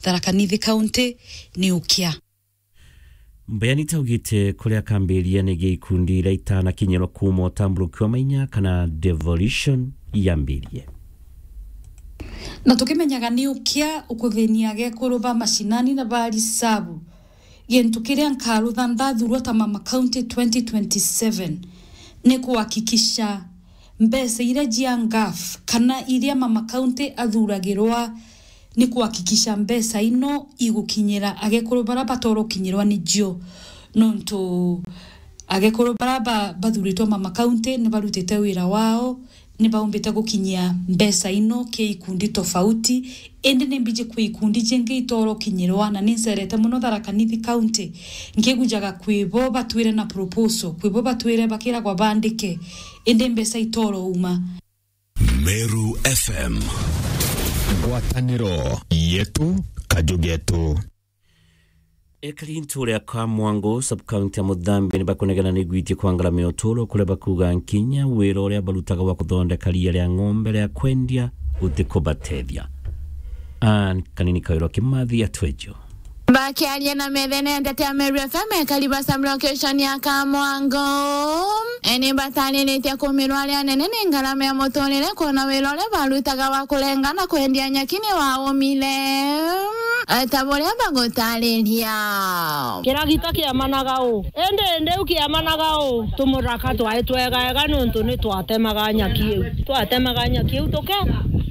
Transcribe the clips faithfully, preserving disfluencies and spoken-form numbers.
Tharaka Nithi County ni ukia. Mbeani taugite kuria kambiria ni gia ikundi iria itanakinyirwa kuuma utamburuki wa mainya kana devolution yambirie. Na tukimenyaga ni ukia ukuthinia agekuru ba mashinani na ba risabu, gintu kiria nkarutha ndathurwa ta Mama County twenty twenty-seven ni kuhakikisha mbeca iria cia ngaf kana iria Mama County athuragirwa ni kuhakikisha mbeca ino igukinyira agekuru bara batoora ukinyirwa nicio, nontu agekuru bara ba-, bathuritwe Mama County ni barutite wira wao, ni baumbite gukinyia mbeca ino ki ikundi tofauti, indi ni mbiji kwi ikundi jingi itoora ukinyirwa, na ni ncerete mono Tharaka Nithi County nkigujaga kwi bo batwire na proposal, kwi bo batwire bakiragwa bandike, indi mbeca itoora uma. Meru F M. Ngwataniro yetu, kaju getu. Ekari ntuura ya Kamwango, sub-county ya Muthambi, ni bakunegena ni gwitie kwa ngarama ya uturo, kuria bakuuga nkinya wira uria barutaga wa kuthondeka riia ria ng'ombe ria kwendia utikubatethia. Ann Kanini Kawirwa Kimathi atwejo. Bakiaria na methene ya ndeto ya Meru F M, ekari ba sub-location ya Kamwango, e, ni batariritie kumirwa aria anene ni ngarama ya muturire, kwona wira uria barutaga wa kurenga na kwendia nyaki ni waumire, e, ta buria bagutariria. Kiragita kiamanaga u, indi, indi u kiamanaga u, tumuraka twai twega ega niuntu ni twatemaga nyaki iu. Twatemaga nyaki iu tuke,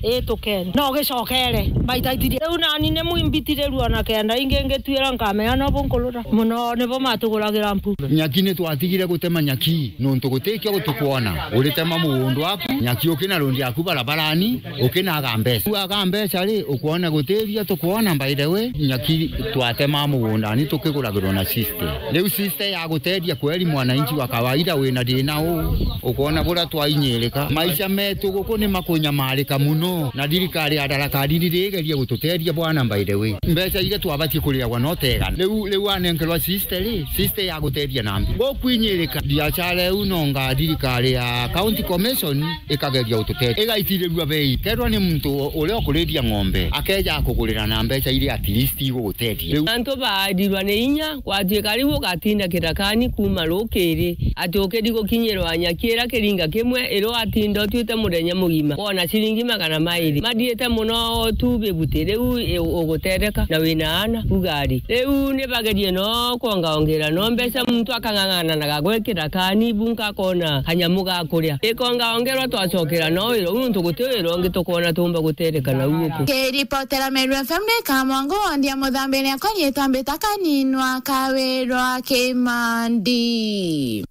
ii tukene. No gicokere, mbaitaitirie. Riu nani ni mwimbitirirua na kenda ingi ngituira nkamenya no bunkurura. Muno nibo matuguragira mpu. Nyaki ni twatigire gutema nyaki, nontu gutikio gutukwona. Uritema mugunda waku, nyaki ukina rundi yaku barabarani, ukinaga mbeca. Uaga mbeca ri, ukwona gutiria tukwona, by the way, nyaki twatema mugundani tukiguragirwa na system. Riu system ya guteethia kweri mwananchi wa kawaida wina thina uu, ukoona buria twainyirika. Maisha meetu guku ni makunyamarika mono, na thirikari ya Tharaka Nithi irigeria gututeethia bwana, by the way. Mbeca iria twabatie kuriagwa no tegana. Riu, riu anenkerwa system ri, system ya guteethia na mbi. Gukwinyirika biashara iu nonga thirikari ya County Commission ikageria gututeethia. Igaitirerua bei. Kethirwa ni muntu uria ukuriithia ng'ombe, akeeja akugurira na mbeca iria at least iguguteethia. Riu antu baarirwa ni inya, gwatuika riu ugatinda kirakani kuuma rukiri, ati ukiri gukinyirwa nyaki iria kiringa kimwe, iria watinda utuite muthenya mugima, wona ciringi magana mairi. Mathiite mono tu bibuti, riu i-, uguteetheka na wina aana, uga ari. Riu ni bagerie no kwongaongera no mbeca, muntu akang'ang'ananaga gwikira kani bunka akona kanyamu ga kuria. Ikongaongerwa twacokera no wira uu, nontu guti wira ungi tukwona tuumba guteetheka nau guku. Kiripotera Meru F M ni Kamwango, wondi ya Muthambi, riakwa riitwa Mbita Kaninwa Kawirwa Kimandi.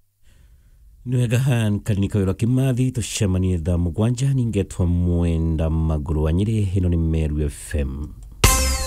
Ni wega, Ann Kanini Kawirwa Kimathi, tucemanie thaa mugwanja, ningetwa Mwenda Maguru wa Nyeri, ino ni Meru F M.